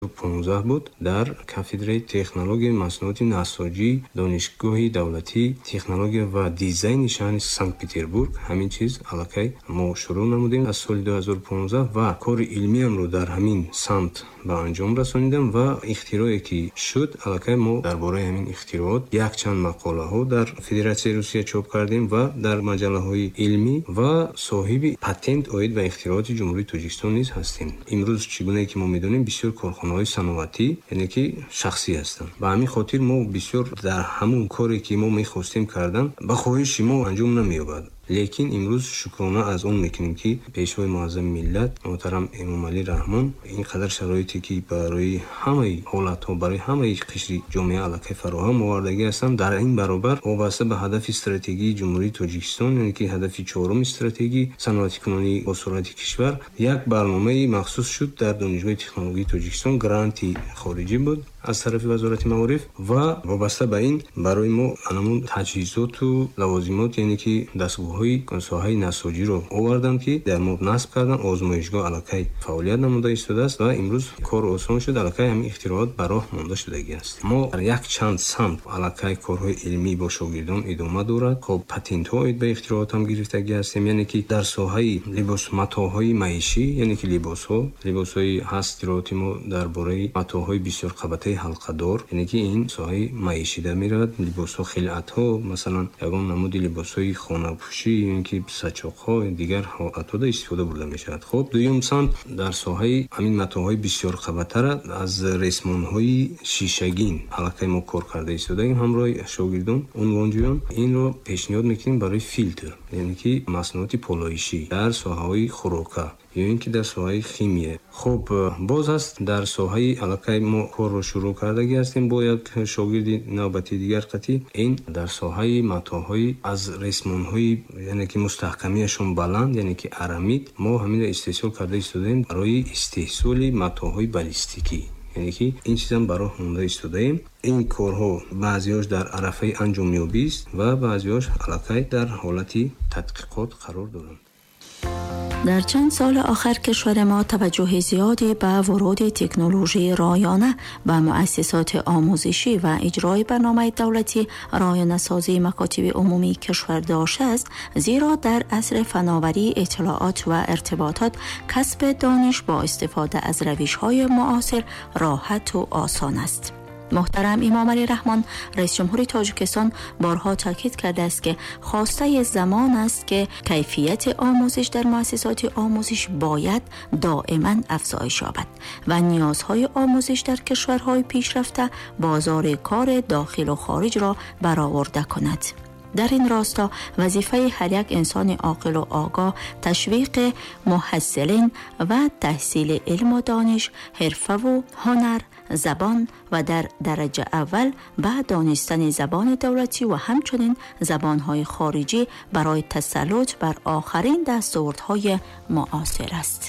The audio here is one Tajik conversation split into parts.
15 буд, дар кафедраи технологияи маҳсулоти насоҷии Донишгоҳи давлатии технология ва дизайни шаҳри Санкт-Петербург ҳамин чиз аллакай мо шурӯъ намудем аз соли 2015 ва кори илмиамро дар ҳамин самт ба анҷом расонидам ва ихтирое ки шуд, аллакай мо дар бораи ҳамин ихтироот якчанд мақолаҳо дар Федератсияи Русия чоп кардем ва дар маҷаллаҳои илмӣ ва соҳиби патент оид ба ихтирооти Ҷумҳурии Тоҷикистон низ ҳастем. Имрӯз чӣ гунае ки мо медонем, бисёр корхонаҳои саноатӣ, яъне ки шахсӣ ҳастанд. Ба ҳамин хотир мо бисёр дар ҳамун коре ки мо мехостем кардан, ба хоҳиши мо анҷом намеёбад. Лекин имрӯз шукрона аз он мекунем, ки Пешвои муаззами миллат муҳтарам Эмомалӣ Раҳмон ин қадар шароите ки барои ҳамаи ҳолатҳо, барои ҳамаи қишри ҷомеа аллакай фароҳам овардагӣ ҳастанд. Дар ин баробар вобаста ба ҳадафи стратегии Ҷумҳурии Тоҷикистон, яъне ки ҳадафи чоруми стратегии саноатикунонии босуръати кишвар, як барномаи махсус шуд дар Донишгоҳи технологии Тоҷикистон, гранти хориҷӣ буд аз тарафи Вазорати маориф ва вобаста ба ин барои мо анамун таҷҳизоту лавозимот, яъне ки дастгоҳҳои соҳаи насоҷиро оварданд, ки дар мо насб карданд. Озмоишгоҳ аллакай фаъолият намуда истодааст ва имрӯз кор осон шуд, аллакай ҳамин ихтироот ба роҳ монда шудагӣ аст. Мо дар якчанд самт аллакай корҳои илмӣ бо шогирдон идома дорад. Хоб, патентҳо оид ба ихтироот ҳам гирифтагӣ ҳастем, яъне ки дар соҳаи либос, матоъҳои маишӣ, яъне ки либосҳо, либосҳои ҳаст ихтирооти мо дар бораи матоъҳои бисёрқабатаи ҳалқадор, яъне ки ин соҳаи маишида меравад. Либосҳо, хилъатҳо, масалан, ягон намуди либосҳои хонапӯшӣ, ё ки сачоқҳо, дигар ҳолатҳода истифода бурда мешавад. Хоб, дуюм самт дар соҳаи ҳамин матоъҳои бисёрқабатара аз ресмонҳои шишагин аллакай мо кор карда истодаем ҳамроҳи шогирдон, унвонҷӯён. Инро пешниҳод мекунем барои филтр, яъне ки маҳсулоти полоишӣ дар соҳаҳои хӯрока ё ин ки дар соҳаи химия. Хоб, боз ҳаст дар соҳаи аллакай мо корро шурӯъ кардагӣ ҳастем бо як шогирди навбати дигар қатъӣ, ин дар соҳаи матоъҳои аз ресмонҳои, яъне ки мустаҳкамиашон баланд, яъне ки арамид, мо ҳаминро истеҳсол карда истодаем барои истеҳсоли матоъҳои баллистикӣ, яъне ки ин чизам ба роҳ монда истодаем. Ин корҳо баъзеҳош дар арафаи анҷомёбист ва баъзеҳош аллакай дар ҳолати тадқиқот қарор доранд. Дар чанд соли охир кишвари мо таваҷҷӯҳи зиёде ба вуруди технологияи ройона ба муассисоти омӯзишӣ ва иҷрои барномаи давлатии ройонасозии макотиби умумии кишвар доштааст, зеро дар асри фановарии иттилоот ва иртиботот касби дониш бо истифода аз равишҳои муосир роҳату осон аст. Муҳтарам Эмомалӣ Раҳмон, раис ҷумҳури Тоҷикистон, борҳо таъкид кардааст, ки хостаи замон аст, ки кайфияти омӯзиш дар муассисоти омӯзиш бояд доиман афзоиш ёбад ва ниёзҳои омӯзиш дар кишварҳои пешрафта бозори кори дохилу хориҷро бароварда кунад. Дар ин росто вазифаи ҳар як инсони оқилу огоҳ ташвиқи муҳассилин ва таҳсили илму дониш, ҳирфаву ҳунар, забон ва дар дараҷа аввал ба донистани забони давлатӣ ва ҳамчунин забонҳои хориҷӣ барои тасаллут бар охарин дастовардҳои муосир аст.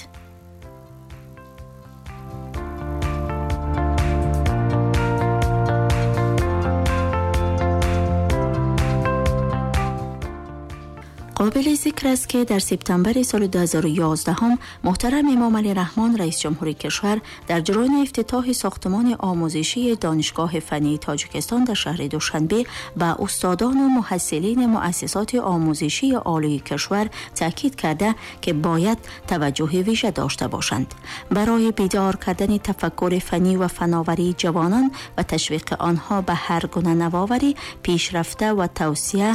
Қобили зикр аст, ки дар септембри соли 2011 муҳтарам Эмомалӣ Раҳмон, раис ҷумҳури кишвар, дар ҷараёни ифтитоҳи сохтмони омӯзишии Донишгоҳи фаннии Тоҷикистон дар шаҳри Душанбе ба устодону муҳассилини муассисоти омӯзишии олии кишвар таъкид карда, ки бояд таваҷҷӯҳи вижа дошта бошанд барои бедор кардани тафаккури фаннӣ ва фановарии ҷавонон ва ташвиқи онҳо ба ҳар гуна навоварӣ, пешрафта ва тавсия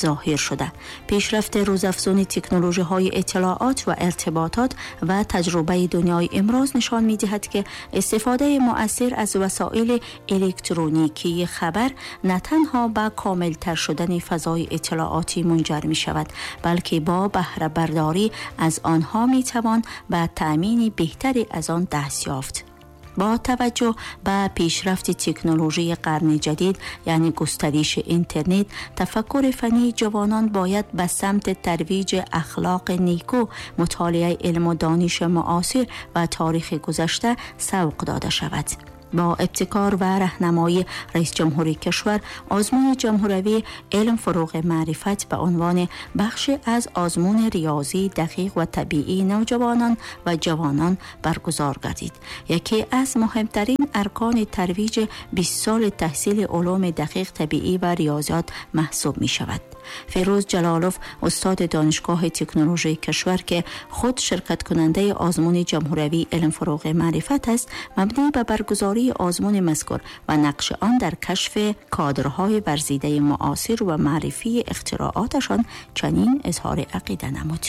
зоҳир шуда. Пешрафти рӯзафзуни технологияҳои иттилоот ва иртиботот ва таҷрибаи дунёи имрӯз нишон медиҳад, ки истифодаи муассир аз васоили электроникии хабар на танҳо ба комилтар шудани фазои иттилоотӣ мунҷар мешавад, балки бо баҳрабардорӣ аз онҳо метавон ба таъмини беҳтаре аз он даст ёфт. Бо таваҷҷӯҳ ба пешрафти технологияи қарни ҷадид, яъне густариши интернет, тафаккури фаннии ҷавонон бояд ба самти тарвиҷи ахлоқи нику, мутолиаи илму дониши муосир ва таърихи гузашта савқ дода шавад. با ابتکار و راهنمایی رئیس جمهوری کشور، آزمون جمهوری علم فروغ معرفت به عنوان بخش از آزمون ریاضی دقیق و طبیعی نوجوانان و جوانان برگزار گردید. یکی از مهمترین ارکان ترویج 20 سال تحصیل علوم دقیق، طبیعی و ریاضیات محسوب می شود. فیروز جلالوف، استاد دانشگاه تکنولوژی کشور که خود شرکت کننده آزمون جمهوری علم فروغ معرفت است، مبنی به برگزاری آزمون مذکور و نقش آن در کشف کادرهای ورزیده معاصر و معرفی اختراعاتشان چنین اظهار عقیده نمود.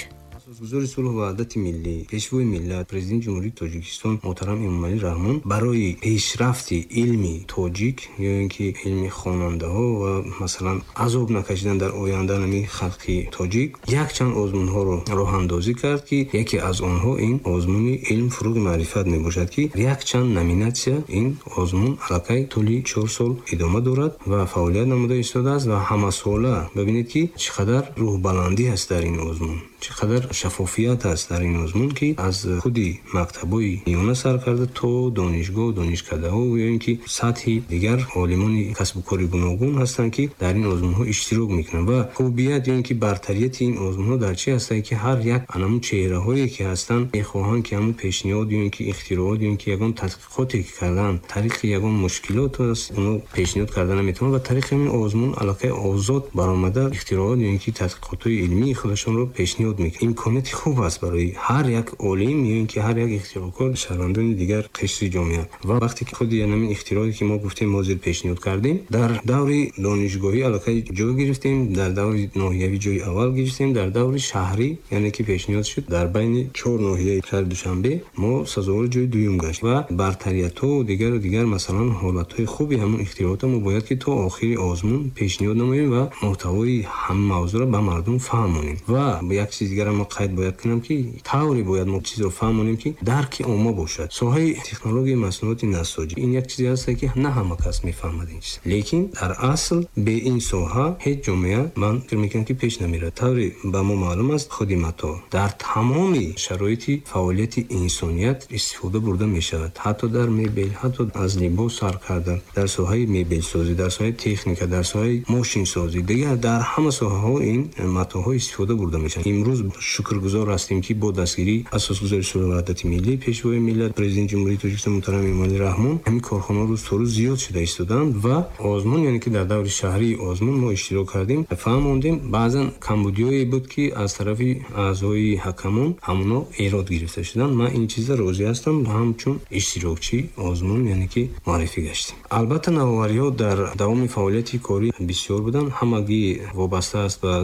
Асосгузори сулҳу ваҳдати миллӣ, Пешвои миллат, Президенти Ҷумҳурии Тоҷикистон муҳтарам Эмомалӣ Раҳмон барои пешрафти илми тоҷик ё ин ки илми хонандаҳо ва, масалан, азоб накашидан дар оянда нами халқи тоҷик якчанд озмунҳоро роҳандозӣ кард, ки яке аз онҳо ин озмуни илм фурӯғи маърифат мебошад, ки якчанд номинатсия ин озмун аллакай тӯли 4 сол идома дорад ва фаъолият намуда истодааст. Ва ҳамасола бибинед, ки чӣ қадар рӯҳбаландӣ ҳаст дар ин озмун, чӣ қадар шаффофият аст дар ин озмун, ки аз худи мактабҳои миёна сар карда то донишгоҳ, донишкадаҳо ё ин ки сатҳи дигар олимони касбу кори гуногун ҳастанд, ки дар ин озмунҳо иштирок мекунанд. Ва хубият ё ин ки бартарияти ин озмунҳо дар чи ҳастанд, ки ҳар як анамун чеҳраҳое ки ҳастанд, мехоҳанд, ки ҳамун пешниҳод ё ин ки ихтироот ё ин ки ягон тадқиқоте ки карданд, тариқи ягон мушкилот аст, оно пешниҳод карда наметавонанд ва тариқи ҳамин озмун аллакай озод баромада ихтироот ё ин ки тадқиқотҳои илмии худашонро пешниҳод мекунанд. Имконияти хуб аст барои ҳар як олим ё ин ки ҳар як ихтироъкор, шаҳрвандони дигар қишри ҷомеа. Ва вақте ки худи ҳамин ихтироъе ки мо гуфтем, ҳозир пешниҳод кардем, дар даври донишгоҳӣ аллакай ҷой гирифтем, дар даври ноҳиявӣ ҷои аввал гирифтем, дар даври шаҳрӣ, яъне ки пешниҳод шуд дар байни чор ноҳияи шаҳри Душанбе, мо сазовори ҷои дуюм гашт. Ва бартариятҳо дигару дигар, масалан, ҳолатҳои хуби ҳамон ихтироъотро мо бояд ки то охири озмун пешниҳод намоем ва муҳтавои ҳама мавзӯъро ба мардум фаҳмонем. Ва як чизи дигарам мо қайд бояд кунам, ки тавре бояд мо чизро фаҳмонем, ки дарки омма бошад. Соҳаи технологияи маҳсулоти насоҷӣ ин як чизе ҳаст, ки на ҳама кас мефаҳмад ин чиз, лекин дар асл бе ин соҳа ҳеҷ ҷомеа, ман фикр мекунам, ки пеш намерад. Тавре ба мо маълум аст, худи матоъ дар тамоми шароити фаъолияти инсоният истифода бурда мешавад, ҳатто дар мебел, ҳатто аз либос сар карда, дар соҳаи мебелсозӣ, дар соҳаи техника, дар соҳаи мошинсозӣ, дигар дар ҳама соҳаҳо ин матоъҳо истифода бурда мешавад. Имрӯз шукргузор ҳастем, ки бо дастгирии Асосгузори сулҳу ваҳдати миллӣ, Пешвои миллат, Президенти Ҷумҳурии Тоҷикистон муҳтарам Эмомалӣ Раҳмон ҳамин корхонаҳо рӯз то рӯз зиёд шуда истодаанд. Ва озмун, яъне ки дар даври шаҳрии озмун мо иштирок кардем, фаҳмондем. Баъзан камбудиҳое буд, ки аз тарафи аъзои ҳакамон ҳамоно эрод гирифта шуданд. Ман ин чиза розӣ ҳастам, ҳамчун иштирокчии озмун, яъне ки муаррифӣ гаштем. Албатта, навовариҳо дар давоми фаъолияти корӣ бисёр буданд, ҳамагӣ вобаста аст ба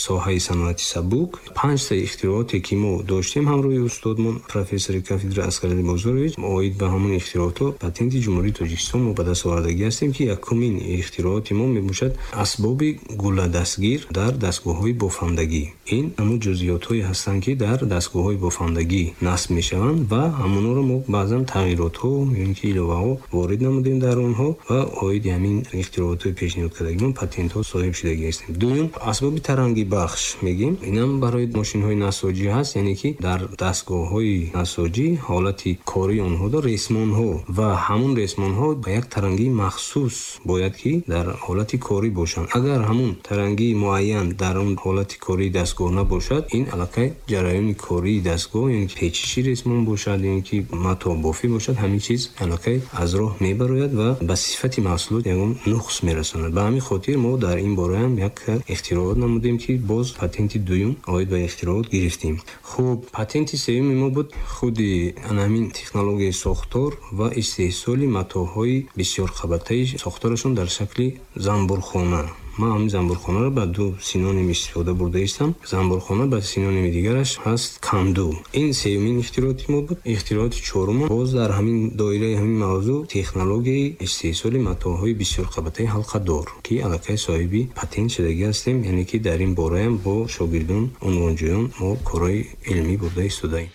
соҳаи саноати сабук. Панҷта ихтирооте ки мо доштем ҳамроҳи устодмон, профессори кафедра Аскарали Бозорович, оид ба ҳамон ихтироотҳо патенти Ҷумҳурии Тоҷикистон мо ба даст овардагӣ ҳастем, ки якумин ихтирооти мо мебошад асбоби гулладастгир дар дастгоҳҳои бофандагӣ. Ин ҳамон ҷузъиётҳое ҳастанд, ки дар дастгоҳҳои бофандагӣ насб мешаванд ва ҳамонҳоро мо баъзан тағйиротҳо ё ин ки иловаҳо ворид намудем дар онҳо ва оиди ҳамин ихтироотҳои пешниҳодкардагимон патентҳо соҳиб шудагӣ ҳастем. Дуюм, асбоби тарангибахш мегӯем, инам барои мошинҳои насоҷӣ ҳаст, яъне ки дар дастгоҳҳои насоҷӣ ҳолати кории онҳо ресмонҳо ва ҳамон ресмонҳо ба як тарангии махсус бояд ки дар ҳолати корӣ бошанд. Агар ҳамон тарангии муайян дар он ҳолати кории дастгоҳ набошад, ин аллакай ҷараёни кории дастгоҳ, ё ин ки печиши ресмон бошад, ё ин ки матобофӣ бошад, ҳамин чиз аллакай аз роҳ мебарояд ва ба сифати маҳсулот ягон нуқс мерасонад. Ба ҳамин хотир мо дар ин бораам як ихтироот намудем, ки боз патенти дуюм оид ба ихтироот гирифтем. Хуб, патенти сеюми мо буд худи ҳамин технологияи сохтор ва истеҳсоли матоъҳои бисёрқабатаи сохторашон дар шакли занбурхона. Ман ҳамин занбурхонаро ба ду синоним истифода бурда истам. Занбурхона ба синоними дигараш ҳаст канду. Ин сеюмин ихтирооти мо буд. Ихтирооти чорум боз дар ҳамин доираи ҳамин мавзӯъ технологияи истеҳсоли матоъҳои бисёрқабатаи ҳалқадор, ки аллакай соҳиби патент шудагӣ ҳастем, яъне ки дар ин бораам бо шогирдон, унвонҷӯён мо корҳои илмӣ бурда истодаем.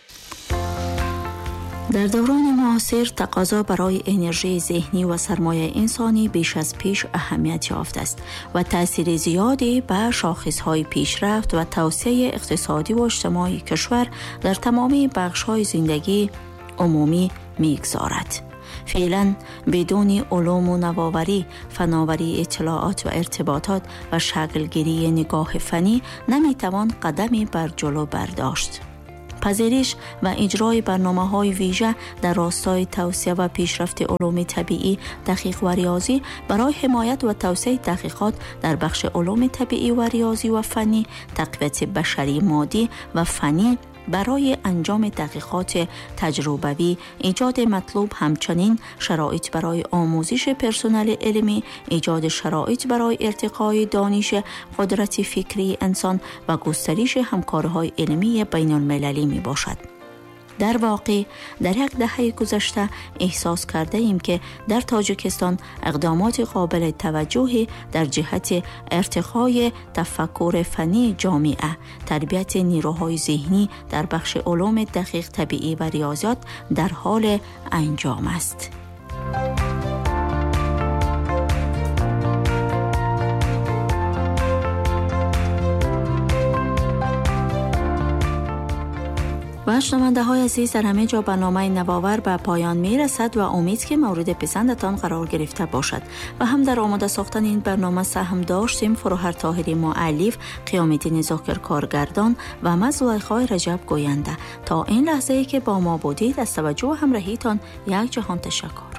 Дар даврони муосир тақозо барои энержии зеҳнӣ ва сармояи инсонӣ беш аз пеш аҳамият ёфтааст ва таъсири зиёде ба шохисҳои пешрафт ва тавсеаи иқтисодӣ ва иҷтимоии кишвар дар тамоми бахшҳои зиндагии умумӣ мегузорад. فعلا بدون علوم و نوآوری، فناوری اطلاعات و ارتباطات و شکلگیری نگاه فنی نمیتوان قدمی بر جلو برداشت. پذیرش و اجرای برنامه‌های ویژه در راستای توسعه و پیشرفت علوم طبیعی، دقیق و ریاضی برای حمایت و توسعه تحقیقات در بخش علوم طبیعی و ریاضی و فنی، تقویت بشری مادی و فنی برای انجام تحقیقات تجربوی، ایجاد مطلوب همچنین شرایط برای آموزش پرسنل علمی، ایجاد شرایط برای ارتقای دانش قدرت فکری انسان و گسترش همکاری‌های علمی بین المللی می باشد. در واقع در یک دهه گذشته احساس کرده ایم که در تاجیکستان اقدامات قابل توجهی در جهت ارتقای تفکر فنی جامعه، تربیت نیروهای ذهنی در بخش علوم دقیق، طبیعی و ریاضیات در حال انجام است. و شنونده های عزیز، در همه جا برنامه نوآور به پایان می رسد و امید که مورد پسندتان قرار گرفته باشد. و هم در آماده ساختن این برنامه سهم داشتیم فروهر طاهری مؤلف، قیام الدین ذاکر کارگردان و من زلیخای رجب گوینده. تا این لحظه ای که با ما بودید از توجه و همراهیتان یک جهان تشکر.